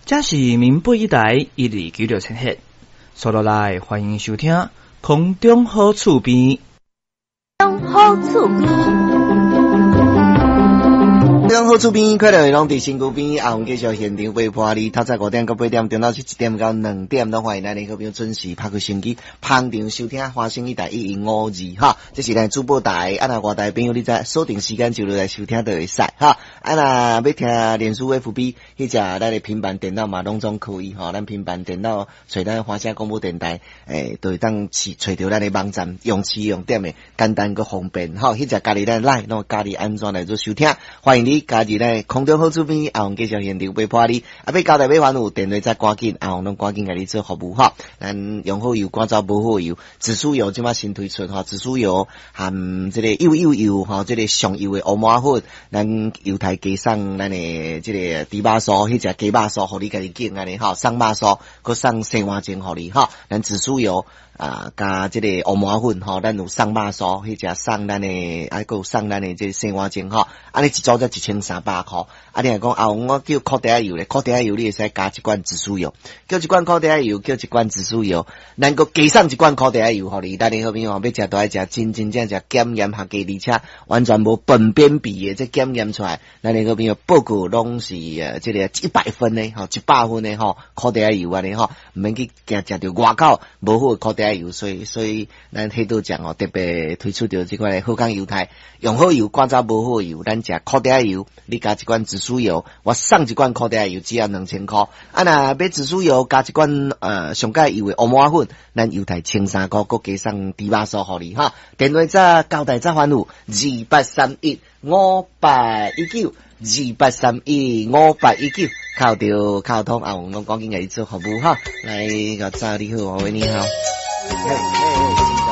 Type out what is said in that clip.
這是民播一台1296千赫，刷落來歡迎收聽空中好厝邊。好厝邊。中好厝邊，快樂攏佇身軀邊。阿紅繼續現場陪伴你，透早5點到8點，中晝是1點到2點，攏歡迎咱的好朋友準時拍開收音機，捧場收聽華聲一台1152哈。這是咱主播台，啊若外台朋友你知鎖定時間就落來收聽就會使哈。啊若欲聽臉書 FB，彼隻咱的平板電腦嘛攏總可以吼。咱平板電腦揣咱華聲廣播電台，就會當揣著咱的網站，用試用點的簡單閣方便吼。彼隻家己咱來，攏家己安怎來做收聽，歡迎你。加入咱空中好厝邊，阿紅繼續現場陪伴你。啊，欲交代欲煩惱，電話再趕緊，阿紅攏趕緊共你做服務吼。咱用好油，趕走無好油，紫蘇油這擺新推出吼，紫蘇油含這個幼幼油吼，這個上幼的烏麻粉，咱猶太加送咱的這個豬肉酥，彼隻雞肉酥，予你家己揀按呢吼，送肉酥，閣送生碗蒸予你吼。咱紫蘇油啊，佮這個烏麻粉吼，咱有送肉酥，彼隻送咱的，啊，閣有送咱的這個生碗蒸吼，按呢一組才1300箍。啊，你若講啊，我叫苦茶仔油咧，苦茶仔油你會使加一罐紫蘇油，叫一罐苦茶仔油，叫一罐紫蘇油，咱閣加送一罐苦茶仔油予你。咱的好朋友欲食都愛食真真正正檢驗合格，而且完全無糞便味的，這檢驗出來，咱的好朋友報告攏是這個100分的吼，100分的吼，苦茶仔油按呢吼，毋免去驚食著外口無好的苦茶仔油，所以咱彼度講哦，特別推出著這款好康猶太，用好油，趕走無好油，咱食苦茶仔油，你加一罐紫蘇油，我送一罐苦茶仔油，只要2000箍。啊，若買紫蘇油加一罐上蓋油的烏麻粉，咱猶太1300箍，閣加送豬肉酥予你哈。電話再交代再煩惱，28315819，28315819，敲著敲通阿黃攏趕緊共你做服務哈。來，個早你好，喂，你好。嘿嘿嘿。